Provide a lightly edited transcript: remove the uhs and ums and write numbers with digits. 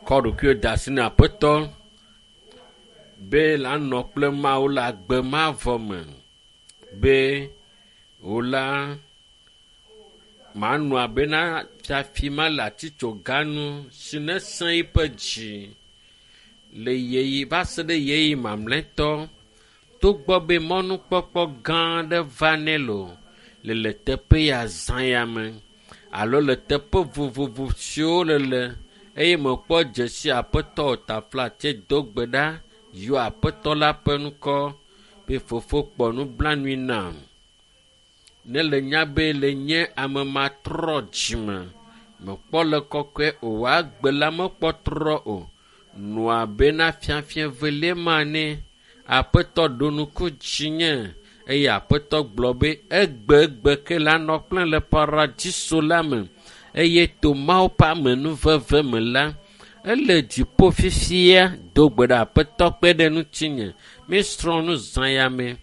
Kɔ ɖokuiwò de asi na Aƒetɔ be la nɔ kple Mawu le agbe mavɔ me be wò la manɔ abena fiafi ma le atitsoga nu si nesẽ eƒe dzi le yeyi va se ɖe yeyi mamlɛtɔ togbɔ be mɔnukpɔkpɔ gã aɖe va nɛ loo le le teƒe ya zã ya me alo le teƒe vovovo siwo le le eye mekpɔ dzesi aƒetɔ o taflatse do gbe ɖa yɔ aƒetɔ la ƒe ŋkɔ be fofo kpɔ nublanui nam. Ne le nya be le nye ame matrɔ dzime mekpɔ le kɔkɔe o agbe la mekpɔ trɔ o. Nɔa bena fiafia velie ma ne aƒetɔ ɖo ŋku dzinye eye aƒetɔ gblɔ be egbegbe ke la nɔ kple le paradiso la me eye to Mawu ƒe amenuveve me la ele dziƒo fifia do gbe ɖe aƒetɔ kpe ɖe ŋutinye. Mísrɔ̃ nu zã ya me.